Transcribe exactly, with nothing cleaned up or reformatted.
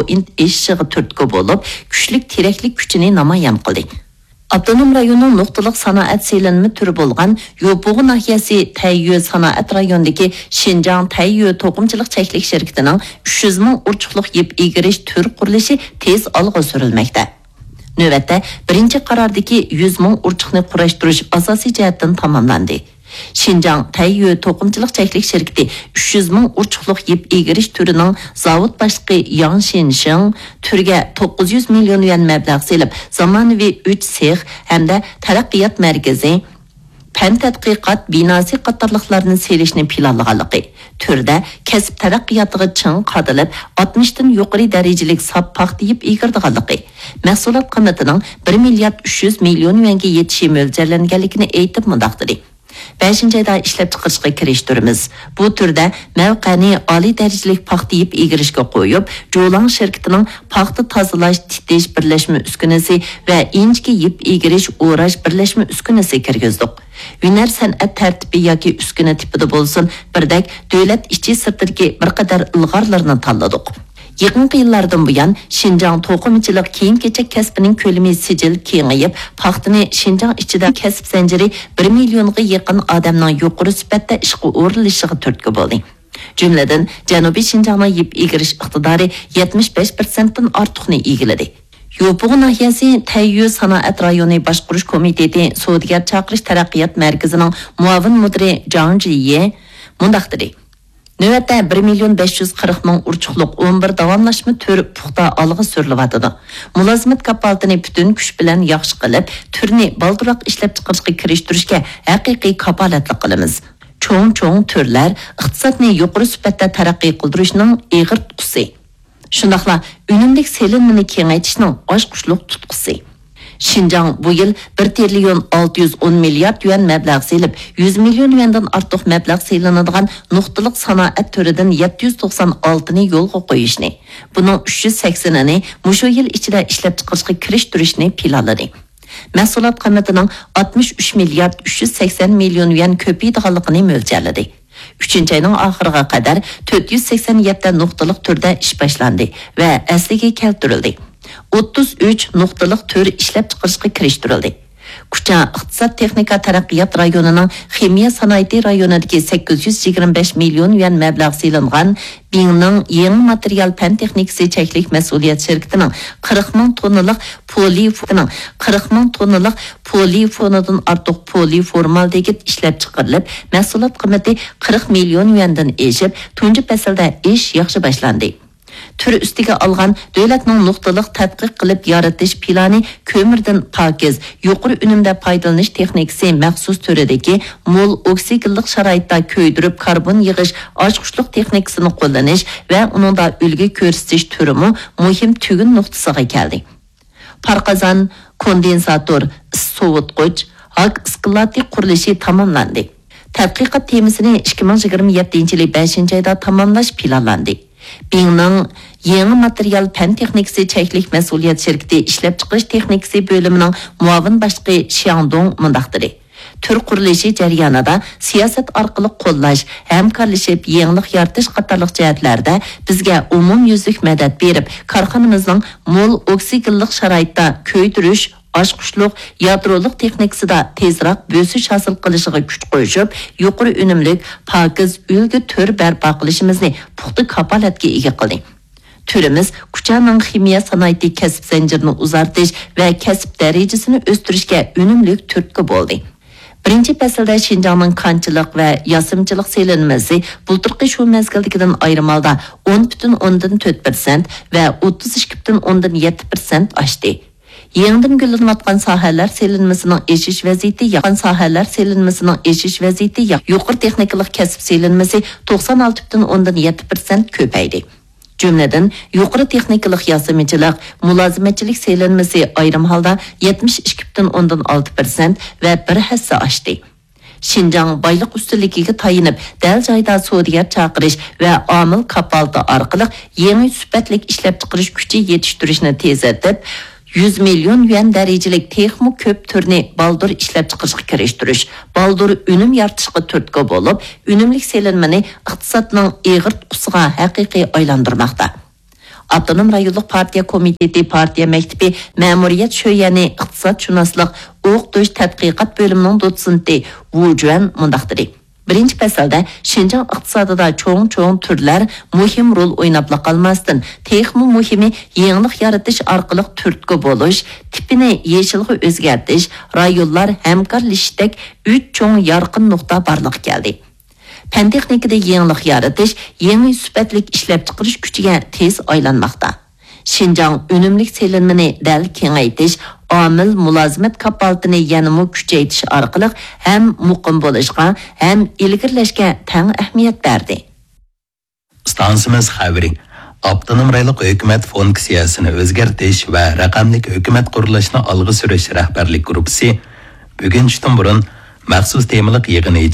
ئېشىشىغا تۈرتكە بولۇپ، كۈچلۈك تىرەكلىك كۈچىنى نامايان قىلدى. ئاپتونوم رايوننىڭ نۇقتىلىق سانائەت سېلىنما تۈرى بولغان يوپۇغۇ ناھىيەسى تەييۈ سانائەت رايونىدىكى شىنجاڭ تەييۈ توقۇمىچىلىق چەكلىك شىركىتىنىڭ ئۈچ يۈز مىڭ ئۇرچۇقلۇق يىپ ئېگىرىش تۈر قۇرۇلۇشى تېز ئالغا سۈرۈلمەكتە. نۆۋەتتە بىرىنچى قاراردىكى يۈز مىڭ ئۇرچۇقنى قۇراشتۇرۇش ئاساسىي جەھەتتىن تاماملاندى. شىنجاڭ تەييۈ توقۇمىچىلىق چەكلىك شىركىتى ئۈچ يۈز مىڭ ئۇرچۇقلۇق يىپ ئېگىرىش تۈرىنىڭ زاۋۇت باشلىقى ياڭ شىنشىڭ تۈرگە توققۇز يۈز مىليون يۈەن مەبلەغ سېلىپ، زامانىۋى ئۈچ سېخ ھەمدە تەرەققىيات مەركىزى، پەن تەتقىقات بىناسى قاتارلىقلارنى سېلىشنى پىلانلىغانلىقى، تۈردە كەسىپ تەرەققىياتىغا چىڭ قادىلىپ، ئاتمىشتىن يۇقىرى دەرىجىلىك ساپ پاختا يىپ ئېگىرىدىغانلىقى، مەھسۇلات قىممىتىنىڭ بىر مىليارد ئۈچ يۈز مىليون يۈەنگە يېتىشى مۆلچەرلەنگەنلىكىنى ئېيتىپ، مۇنداق دېدى: بەشىنچى ئايدا ئىشلەپچىقىرىشقا كىرىشتۈرىمىز. بۇ تۈردە مەۋقەنى ئالىي دەرىجىلىك پاختا يىپ ئېگىرىشكە قويۇپ، جۇلاڭ شىركىتىنىڭ پاختا تازىلاش، تىتىش بىرلەشمە ئۈسكۈنىسى ۋە ئىنچىكە يىپ ئېگىرىش، ئوراش بىرلەشمە ئۈسكۈنىسى كىرگۈزدۇق. ھۈنەر سەنئەت تەرتىپى ياكى ئۈسكۈنە تىپىدا بولسۇن، بىردەك دۆلەت ئىچى سىرتىدىكى بىر قەدەر ئىلغارلارنى تاللىدۇق. يېقىنقى يىللاردىن بۇيان، شىنجاڭ توقۇمىچىلىق كىيىم-كېچەك كەسپىنىڭ كۆلىمى سىجىل كېڭىيىپ، پاختىنى شىنجاڭ ئىچىدە كەسىپ زەنجىرى بىر مىليونغا يېقىن ئادەمنىڭ يۇقىرى سۈپەتتە ئىشقا ئورۇنلىشىشىغا تۈرتكە بولدى. جۈملىدىن، جەنۇبىي شىنجاڭنىڭ يىپ ئېگىرىش ئىقتىدارى يەتمىش بەش پىرسەنتتىن ئارتۇقنى ئىگىلىدى. يوپۇغۇ ناھىيەسى تەييۈ سانائەت رايونى باشقۇرۇش كومىتېتى سودىگەر چاقىرىش تەرەققىيات مەركىزىنىڭ مۇئاۋىن مۇدىرى جاڭ جىيې مۇنداق دېدى: نۆۋەتتە بىر مىليون بەش يۈز قىرىق مىڭ ئۇرچۇقلۇق ئون بىر داۋاملاشما تۈر پۇختا ئالغا سۈرۈلۈۋاتىدۇ. مۇلازىمەت كاپالىتىنى پۈتۈن كۈچ بىلەن ياخشى قىلىپ، تۈرنى بالدۇرراق ئىشلەپچىقىرىشقا كىرىشتۈرۈشكە ھەقىقىي كاپالەتلىك قىلىمىز. چوڭ-چوڭ تۈرلەر ئىقتىسادنى يۇقىرى سۈپەتتە تەرەققىي قىلدۇرۇشنىڭ ئېغىر تۇتقىسى. شۇنداقلا ئۈنۈملۈك سېلىنمىنى كېڭەيتىشنىڭ ئاچقۇچلۇق تۇتقىسى. شىنجاڭ بۇ يىل بىر تىرىليون ئالتە يۈز ئون مىليارد يۈەن مەبلەغ سېلىپ، يۈز مىليون يۈەندىن ئارتۇق مەبلەغ سېلىنىدىغان نۇقتىلىق سانائەت تۈرىدىن يەتتە يۈز توقسان ئالتىنى يولغا قويۇشنى، بۇنىڭ ئۈچ يۈز سەكسىنىنى مۇشۇ يىل ئىچىدە ئىشلەپچىقىرىشقا كىرىشتۈرۈشنى پىلانلىدى. مەھسۇلات قىممىتىنىڭ ئاتمىش ئۈچ مىليارد ئۈچ يۈز سەكسەن مىليون يۈەن كۆپىيىدىغانلىقىنى مۆلچەرلىدى. ئۈچىنچى ئاينىڭ ئاخىرىغا قەدەر تۆت يۈز سەكسەن يەتتە نۇقتىلىق تۈردە ئىش باشلاندى ۋە ئەسلىگە كەلتۈرۈلدى. ئوتتۇز ئۈچ نۇقتىلىق تۈر ئىشلەپچىقىرىشقا كىرىشتۈرۈلدى. كۇچا ئىقتىساد تېخنىكا تەرەققىيات رايونىنىڭ خىمىيە سانائىتى رايونىدىكى سەككىز يۈز يىگىرمە بەش مىليون يۈەن مەبلەغ سېلىنغان بىڭنىڭ يېڭى ماتېرىيال پەن تېخنىكىسى چەكلىك مەسئۇلىيەت شىركىتىنىڭ قىرىق مىڭ توننىلىق پولىفونىڭ قىرىق مىڭ توننىلىق پولىفونىدىن ئارتۇق پولىفورمالدېگىد ئىشلەپچىقىرىلىپ، مەھسۇلات قىممىتى قىرىق مىليون يۈەندىن ئېشىپ، تۇنجى پەسىلدە ئىش ياخشى باشلاندى. تۈر ئۈستىگە ئالغان دۆلەتنىڭ نۇقتىلىق تەتقىق قىلىپ يارىتىش پىلانى كۆمۈردىن پاكىز، يۇقىرى ئۈنۈمدە پايدىلىنىش تېخنىكىسى مەخسۇس تۈرىدىكى مول ئوكسىگېنلىق شارائىتتا كۆيدۈرۈپ كاربون يىغىش ئاچقۇچلۇق تېخنىكىسىنى قوللىنىش ۋە ئۇنىڭدا ئۈلگە كۆرسىتىش تۈرىمۇ مۇھىم تۈگۈن نۇقتىسىغا كەلدى. پارقازان، كوندېنساتور، ئىس سوۋۇتقۇچ، ھاك ئىسكىلاتى قۇرۇلۇشى تاماملاندى. تەتقىقات تېمىسىنى ئىككى مىڭ يىگىرمە يەتتىنچى يىلى بەشىنچى ئايدا تاماملاش پىلانلاندى. بىڭنىڭ يېڭى ماتېرىيال پەن تېخنىكىسى چەكلىك مەسئۇلىيەت شىركىتى ئىشلەپچىقىرىش تېخنىكىسى بۆلۈمىنىڭ مۇئاۋىن باشلىقى شياڭدۇڭ مۇنداق دېدى: تۈر قۇرۇلۇشى جەريانىدا سىياسەت ئارقىلىق قوللاش، ھەمكارلىشىپ يېڭىلىق يارىتىش قاتارلىق جەھەتلەردە بىزگە ئومۇميۈزلۈك مەدەت بېرىپ، كارخانىمىزنىڭ مول ئوكسىگېنلىق شارائىتتا كۆيدۈرۈش، ئاچقۇچلۇق، يادرولۇق تېخنىكىسىدا تېزراق بۆسۈش ھاسىل قىلىشىغا كۈچ قوشۇپ، يۇقىرى ئۈنۈملۈك، پاكىز ئۈلگە تۈر بەرپا قىلىشىمىزنى پۇختا كاپالەتكە ئىگە قىلدى. تۈرىمىز كۇچانىڭ خىمىيە سانائىتى كەسىپ زەنجىرىنى ئۇزارتىش ۋە كەسىپ دەرىجىسىنى ئۆستۈرۈشكە ئۈنۈملۈك تۈرتكە بولدى. بىرىنچى پەسىلدە شىنجاڭنىڭ كانچىلىق ۋە ياسىمىچىلىق سېلىنمىسى بۇلتۇرقى شۇ مەزگىلدىكىدىن ئايرىم ھالدا ئون پۈتۈن ئوندىن تۆت پىرسەنت ۋە ئوتتۇز ئىككى پۈتۈن ئوندىن يەتتە پىرسەنت ئاشتى. يېڭىدىن گۈللىنىۋاتقان ساھەلەر سېلىنمىسىنىڭ ئېشىش ۋەزىيىتى ياخشى. ساھەلەر سېلىنمىسىنىڭ ئېشىش ۋەزىيىتى ياخشى. يۇقىرى تېخنىكىلىق كەسىپ سېلىنمىسى توقسان ئالتە پۈتۈن ئوندىن يەتتە پىرسەنت كۆپەيدى. جۈملىدىن، يۇقىرى تېخنىكىلىق ياسىمىچىلىق، مۇلازىمەتچىلىك سېلىنمىسى ئايرىم ھالدا يەتمىش ئىككى پۈتۈن ئوندىن ئالتە پىرسەنت ۋە بىر ھەسسە ئاشتى. شىنجاڭ بايلىق ئۈستۈنلۈكىگە تايىنىپ، دەل جايىدا سودىگەر چاقىرىش ۋە ئامىل كاپالىتى ئارقىلىق يېڭى سۈپەتلىك ئىشلەپچىقىرىش كۈچى يېتىشتۈرۈشنى تېزلىتىپ، يۈز مىليون يۈەن دەرىجىلىك تېخىمۇ كۆپ تۈرنى بالدۇر ئىشلەپچىقىرىشقا كىرىشتۈرۈش، بالدۇر ئۈنۈم يارىتىشقا تۈرتكە بولۇپ، ئۈنۈملۈك سېلىنمىنى ئىقتىسادنىڭ ئېغىر تۇتقىسىغا ھەقىقىي ئايلاندۇرماقتا. ئاپتونوم رايونلۇق پارتىيە كومىتېتى پارتىيە مەكتىپى مەمۇرىيەت شۆيەنى ئىقتىسادشۇناسلىق ئوقۇتۇش تەتقىقات بۆلۈمىنىڭ دوتسېنتى ۋۇ جۈەن مۇنداق دېدى: بىرىنچى پەسىلدە شىنجاڭ ئىقتىسادىدا چوڭ-چوڭ تۈرلەر مۇھىم رول ئويناپلا قالماستىن، تېخىمۇ مۇھىمى يېڭىلىق يارىتىش ئارقىلىق تۈرتكە بولۇش، تىپىنى يېشىلغا ئۆزگەرتىش، رايونلار ھەمكارلىشىشتەك ئۈچ چوڭ يارقىن نۇقتا بارلىققا كەلدى. پەن-تېخنىكىدا يېڭىلىق يارىتىش يېڭى سۈپەتلىك ئىشلەپچىقىرىش كۈچىگە تېز ئايلانماقتا. شىنجاڭ ئۈنۈملۈك سېلىنمىنى دەل كېڭەيتىش، ئامىل مۇلازىمەت كاپالىتىنى يەنىمۇ كۈچەيتىش ئارقىلىق ھەم مۇقىم بولۇشقا، ھەم ئىلگىرىلەشكە تەڭ ئەھمىيەت بەردى. ئىستانسىمىز خەۋىرى. ئاپتونوم رايونلۇق ھۆكۈمەت فۇنكسىيەسىنى ئۆزگەرتىش ۋە رەقەملىك ھۆكۈمەت قۇرۇلۇشىنى ئالغا سۈرۈش رەھبەرلىك گۇرۇپپىسى بۈگۈن چۈشتىن بۇرۇن مەخسۇس تېمىلىق يىغىنى